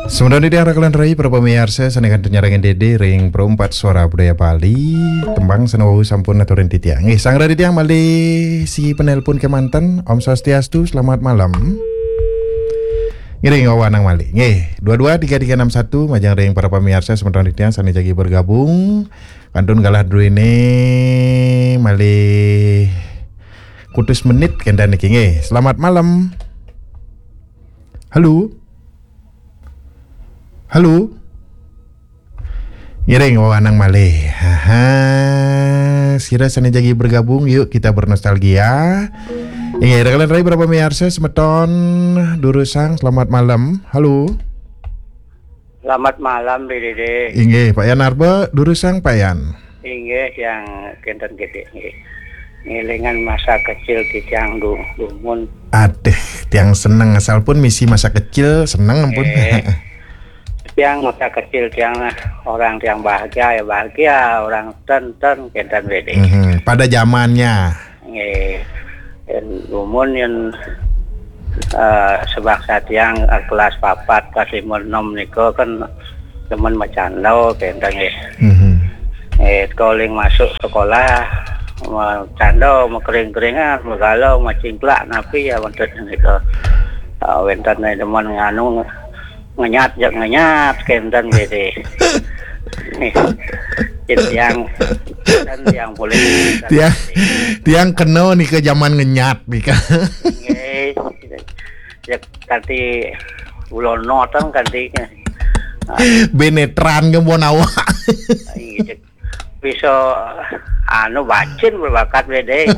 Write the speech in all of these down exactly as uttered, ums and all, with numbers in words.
Semeton titiang raka lan rai, para pamiarsa sané kantun nyarengin Dédé ring Perempat Suara Budaya Bali, tembang sané wau sampun aturin titiang. Nggih, sang titiang malih siki penelpon kémanten. Om Swastiastu, selamat malam. Ngiring wewanang malih. Nggih, dua dua tiga tiga enam satu, majeng ring para pamiarsa semeton titiang sané jagi bergabung. Kantun galah druéné malih kutus menit kénten niki nggih. Selamat malam. Halo. Halo. Ngiring wewanang malih. Haha. Sira sané jagi bergabung, yuk kita bernostalgia. Inggih, raka lan rai, para pamiarsa semeton durusang, selamat malam. Halo. Selamat malam, Dédé. Inggih, Pak Yan Arba, durusang, Pak Yan. Inggih, tiang kénten Dédé, nggih. Ngélingang masa kecil titiang du-, dumun. Aduh, tiang seneng asal pun misi masa kecil, seneng ampun. Eh, tiang masa kecil tiang lah, orang tiang bahagia ya bahagia, orang ten-ten kénten Dédé. Mhm, pada zamannya. Nggih. Yén dumun yén, eh, sebangsa tiang, eh, kelas papat, kelas lima, enam nika kan demen macanda kénten nggih. Mhm. Eh, kaling masuk sekolah, macanda, makering-keringan, magalau, macingklak, napi ya wénten nika. Eh, wénten demen nganu, ngenyat, jak ngenyat, kénten nggih. Jadi tiang, dan tiang boleh. Tiang, tiang kena nika zaman ngenyat nika. Nggih. Jak kanti ulonotan kanti. Benetran ke bon awak. Iya, jak bisa, anu, bacin berbakat Dédé.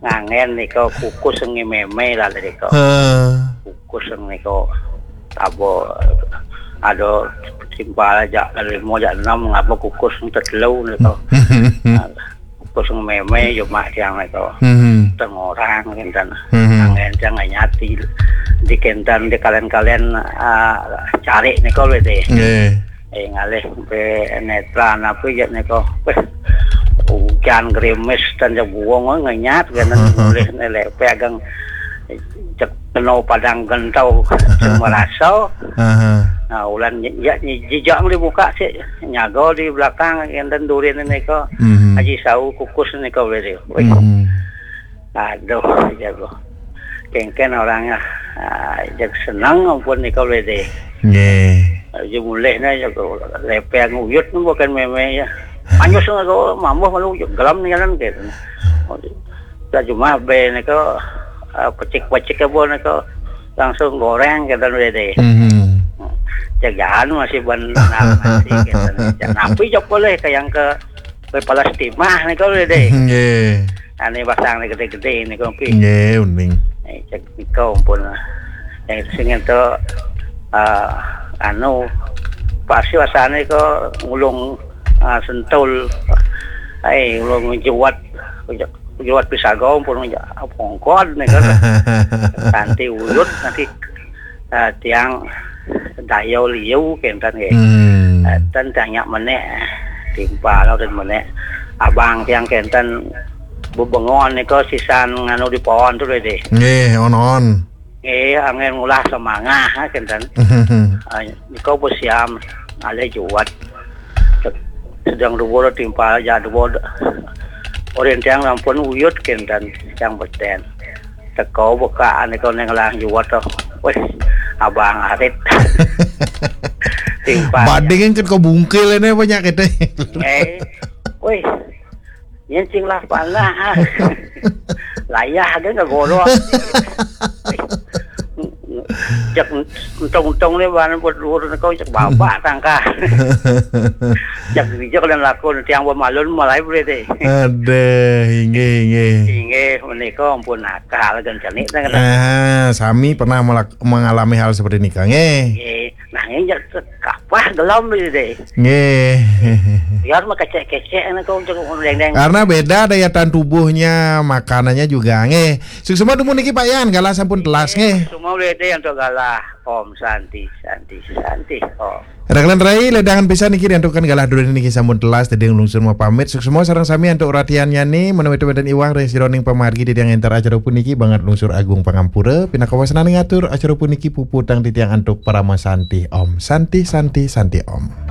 Nganggén nika kukus ngi mémé lah nika. Heeh. Kukus nika tabo ada timpal jak lima jak enam ngapa kukus tetelu nika. Kukus ngi mémé yo mak tiang nika. Mhm. Tengorang kénten. Mhm. Nganggén tiang nyati di kénten di kalian-kalian, ah, cari nika Dédé. Nggih. Eh, ngalih benetran apa ya nika. Wéh, ujan gerimis dan jebuang ngenyat kan mulih nelek pegang cek kena padang gentau semua rasa. Aha. Nah, ulan ya jijak dibuka sih nyaga di belakang kénten durin nika. Mhm. Haji Sau kukus nika Dédé. Wéh. Mhm. Aduh, jago. Kéngkén orangnya, ah, jag seneng ampun nika Dédé. Nggih. Aja mulihna jago lepeng uyut bukan mémé ya. Anyus nika mambuh malu gelam nih kan gitu. Lah cuma bé nika, ah, pecik-pecik apa nika langsung goreng kénten Dédé. Mhm. Jagaan masih ban nasi kénten. Napi jok boleh ke yang ke Kue palas timah nih kalau Dédé. Nggih. Ane pasang nih gede-gede nih kopi. Nggih, uning. Eh, cek niko pun. Yang itu sing itu, eh, anu, pasti wasane ko ngulung, eh, sentul. Ai, ngulung juwat, juwat pisaga pun pongkon nih kan. Kanti uyut nanti, eh, tiang daya liu kénten nggih. Hmm. Eh, ten tiang nyak menék, timpal ten menék. Abang tiang kénten bebengon nika sisan nganu di pohon tu Dédé. Nggih, on-on. Nggih, angin ngulah semangah, ah, kénten. Ah, nika besiam alih juwat. Sedang dua timpal ja dua. Orin tiang ampun uyut kénten tiang beten. Teko bukaan nika ning lang juwat to. Wis, abang arit. Timpal. Bading kan kau bungkil ini banyak kita. Eh. Wis. Yen sing lah panah. Layah aja nggak golok. Cek untung-untung nih bahan buat luhur nih kau cek babak tangkah. Cek bijak dan laku tiang pemalun mulai boleh deh. Aduh, inggih, inggih. Inggih, menika ampun akal kan cenik teh kena. Ah, sami pernah melak-, mengalami hal seperti ini, Kang. Eh. Nggih. Nah, ini cek kapah gelom boleh deh. Nggih. Biar mah kecek-kecek nih kau cek deng-deng. Karena beda daya tahan tubuhnya, makanannya juga. Nggih. Suksma dumun niki Pak Yan, galah sampun telas nggih. Semua boleh deh untuk galah. Om Santi, Santi, Santi Om. Rakalan rai, ledangan pisan niki diantukan galah dulu niki sampun telas, tadi lungsur mau pamit. Suksma sareng sami antuk ratian nyani, menawi wénten iwang ring sironing pamargi titiang entar acara puniki banget lungsur agung pangampura, pinakawasanan ngatur acara puniki puputang titiang antuk parama santi. Om Santi, Santi, Santi Om.